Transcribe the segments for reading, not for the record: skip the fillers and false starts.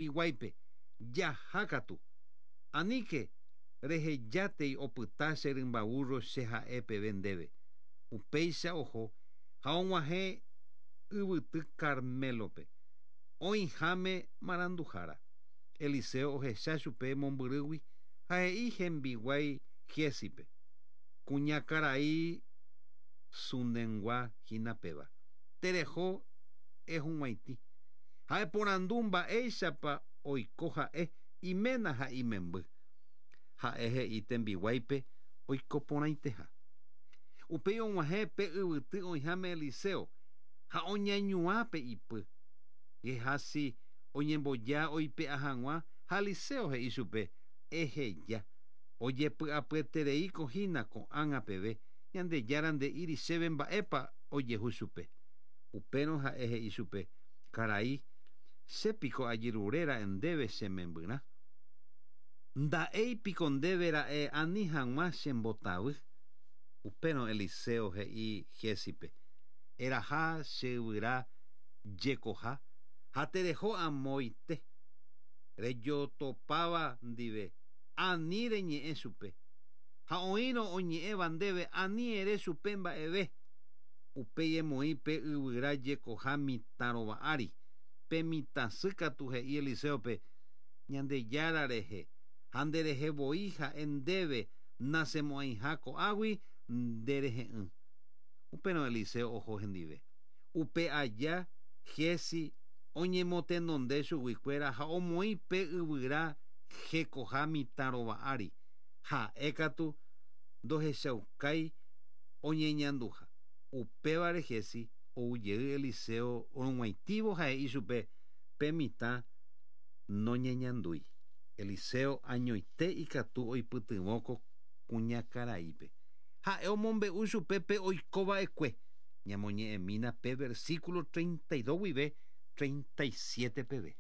Hembiguáipe, Jaha katu. Aníke rehejátei opyta che rymba vúrro che ha'e peve ndéve. Upéicha oho ha og̃uahẽ yvyty Carmélope, oĩháme maranduhára. Eliseo ohecha chupe mombyrýgui ha he'i hembiguái Giézipe, Kuñakarai Sunengua hína péva. Tereho ehug̃uaitĩ. Ha eporandu mba'éichapa oiko ha'e, iména ha imemby. Ha'e he'i tembiguáipe oiko porãiteha. Upéi og̃uahẽ pe yvyty oĩháme Eliseo ha oñañuã pe ipy. Guehazi oñemboja oipe'a hag̃ua ha Eliseo he'i chupe, Eheja. Ojepy'apyetereíko hína ko'ág̃a peve, Ñandejára nde'íri chéve mba'épa ojehu chupe. Upérõ ha'e he'i chupe, Karai, che piko ajerure ra'e ndéve che membyrã? Nda'éi piko ndéve ra'e ani hag̃ua che mbotavy? Upérõ Eliseo he'i Giézipe, Eraha che yvyra jekoha ha tereho amoite rejotopáva ndive, ani reñe'ẽ chupe. Ha oĩrõ oñe'ẽva ndéve ani ere chupe mba'eve. Upéi emoĩ pe yvyra jekoha mitã rova ári. Pe mitã sy katu he'i Eliséope, Ñandejára rehe, ha nde rehe voi ha'e ndéve nasẽmo'ãiha ko'águi nde rehe'ỹ. Upérõ Eliseo oho hendive. Upe aja Giezi oñemotenonde chuguikuéra ha omoĩ pe yvyra hekoha mitã rova ári, ha'e katu ndohechaukái oñeñanduha. Upévare Giezi ou jey Eliseo rug̃uaitĩvo ha he'i chupe pe mitã noñeñandúi. Eliseo añoite ikatu oipytyvõ ko kuñakaraípe. Ha'e omombe'u chupe pe oiko va'ekue. Ñamoñe'ẽmína pe versículo 32 guive 37 peve.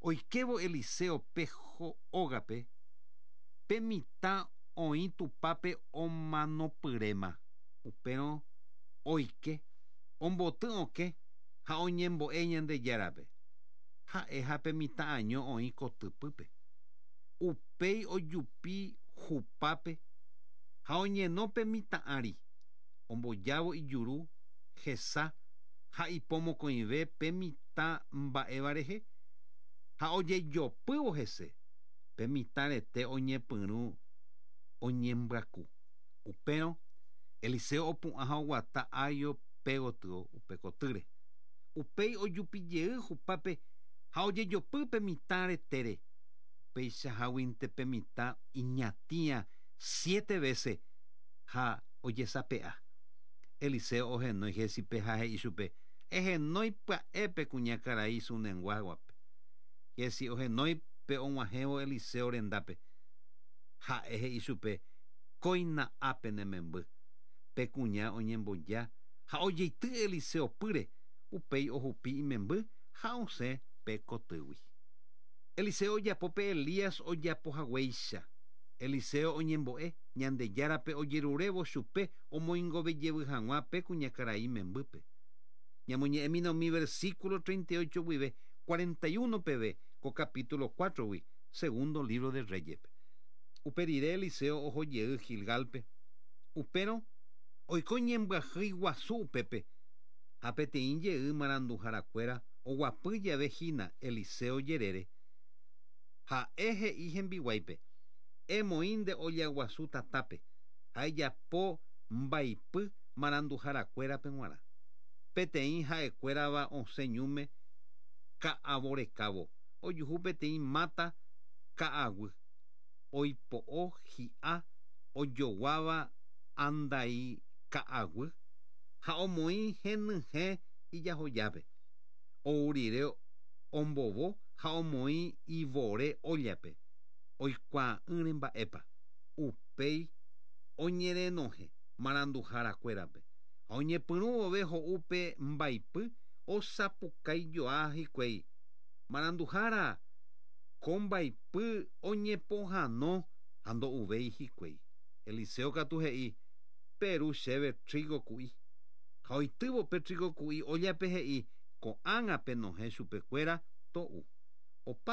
Oikévo Eliseo pe ógape, pe mitã oĩ tupápe omanopyréma. Upérõ oike, omboty okẽ ha oñembo'e Ñandejárape. Ha'e ha pe mitã año oĩ kotypýpe. Upéi ojupi hupápe ha oñeno pe mitã ári, ombojávo ijuru, hesa ha ipo mokõive pe mitã mba'éva rehe, ha ojejopývo hese, pe mitã rete oñepyrũ oñembyaku. Upérõ Eliseo opu'ã ha oguata águio pe gotyo upe kotýre. Upéi ojupi jey hupápe ha ojejopy pe mitã retére. Upeichaháguinte pe mitã iñatĩa siete vése ha ojesape'a. Eliseo ohenói Gézipe ha he'i chupe, Ehenói pya'e pe kuñakarai Sunenguáguape. Gézi ohenói pe og̃uahẽvo Eliseo rendápe. Ha'e he'i chupe, Kóina ápe ne memby. Pe kuña oñemboja ha ojeity Eliseo pýre, upéi ohupi imemby ha osẽ pe kotýgui. Eliseo ojapo pe Elías ojapo haguéicha. Eliseo oñembo'e Ñandejárape ojerurévo chupe omoingove jevy hag̃ua pe kuñakarai membýpe. Ñamoñe'ẽmína umi versículo 38 guive 41 peve ko capítulo 4-gui, segundo lívro de Reyes-pe. Upe rire Eliseo oho jey Gilgálpe. Upérõ oiko ñembyahýi guasu upépe, ha peteĩ jey maranduharakuéra oguapy jave hína Eliseo jerére, ha'e he'i hembiguáipe, Emoĩ nde olla guasu tatápe, ha ejapo mbaipy maranduharakuérape g̃uarã. Peteĩ ha'ekuérava osẽ ñúme ka'avo rekávo, ojuhu peteĩ máta ka'aguy, oipo'o hi'a ojoguáva andai ka'aguy ha omoĩ henyhẽ ijahojápe. Ou rire ombovo ha omoĩ ivore óllape, oikuaa'ỹre mba'épa. Upéi oñerenohẽ maranduharakuérape, ha oñepyrũ vove ho'u pe mbaipy osapukái joa hikuái, Maranduhára! Ko mbaipy oñepohãno ha ndo'uvéi hikuái. Eliseo katu he'i, Peru chéve trígo ku'i. Ha oitývo pe trígo ku'i óllape he'i, Ko'ág̃a penohẽ chupekuéra to'u. Opa.